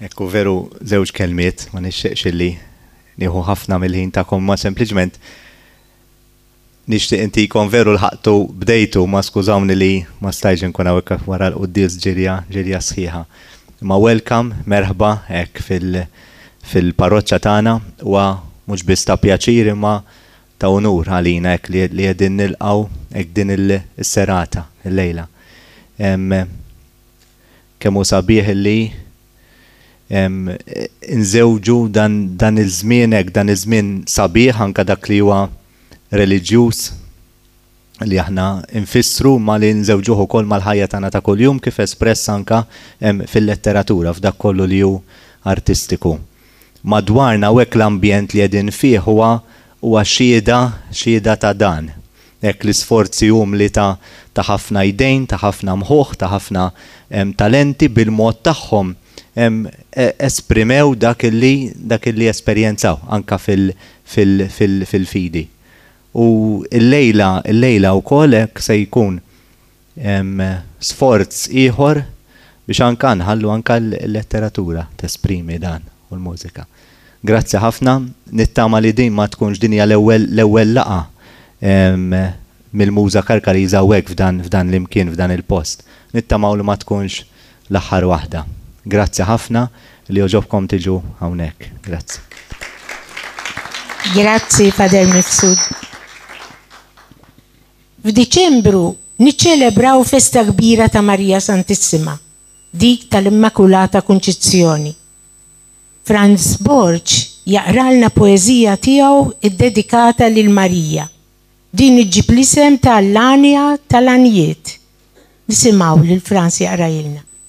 Ekku veru żewġ kelmiet, ma nixtieqx illi nieħu ħafna mill-ħin tagħkom ma sempliċement nixtieq intikom veru lħaqtu bdejtu ma skużawni li ma stajtx inkun hawnhekk wara l-quddies ġirja ġirja sħiħa. Imma welcome, merħba hekk fil fil-parroċċa tagħna huwa mhux biss ta' pjaċir imma ta' unur għalina hekk li li qegħdin nilqgħu hekk din is-serata illejla. Kemm hu sabiħ illi nżewġu dan dan iż-żmien hekk, dan iż-żmien sabiħ anke dak li huwa reliġjuż li aħna nfissru ma li nżewġuh ukoll mal-ħajja tagħna ta' kuljum kif espress anke fil-letteratura f'dak kollu li hu artistiku. Madwarna hawnhekk l-ambjent li qegħdin fih huwa huwa xhieda xhieda ta' dan. Hekk l-isforzi umli ta' ta' ħafna jdejn, ta' ħafna mħuħ, ta' ħafna talenti bil-mod tagħhom esprimew dak li dak li esperjenzaw anke fil fil fil fil-fidi. U llejla llejla wkoll hekk se jkun sforz ieħor biex anke nħallu anke l-letteratura tesprimi dan u l-mużika. Grazzi ħafna, nittama li din ma tkunx din hija l-ewwel l-ewwel laqgħa mill-Muża Karkariża hawnhekk f'dan f'dan l-imkien f'dan il-post. Nittamaw li ma tkunx l-aħħar waħda. Grazzi ħafna li għoġobkom tiġu hawnhekk. Grazzi. Grazzi Father Mifsud. F'Diċembru niċċelebraw festa kbira ta' Marija Santissima, dik tal-Immakulata Kunċizzjoni. Frans Borg jaqralna poeżija tiegħu ddedikata lil Marija. Din iġġib l-isem ta' L-Għanja tal-Għanjiet. Nisimgħu lil Frans jaqrajilna.